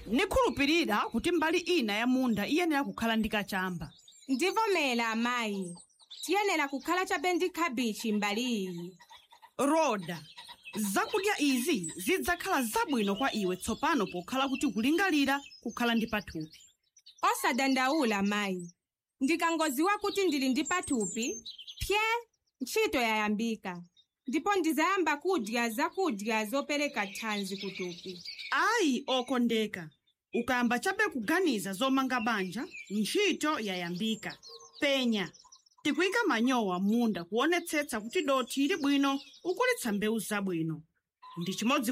Nikhulupirira kuti mbali ina ya munda iyenera kukhala ndi kachamba. Ndivomera, amayi, tiyenera kukhala chabe ndi khabichi mbali iyi. Roda, zakudya izi zidzakhala zabwino kwa iwe tsopano pokhala kuti kulingalira kukhala ndi pathupi. Osadandaula, mayi, ndikangoziwa kuti ndili ndi pathupi, pye ntchito yayambika, ndipo ndizayamba kudya zakudya zopereka thanzi kuthupi. Ayi, okondeka, ukayamba chabe kuganiza zomanga banja, ntchito yayambika. Penya, tikuyika manyowa m'munda kuonetsetsa kuti dothi ili bwino ukulitsa mbewu zabwino ndi chimodzi.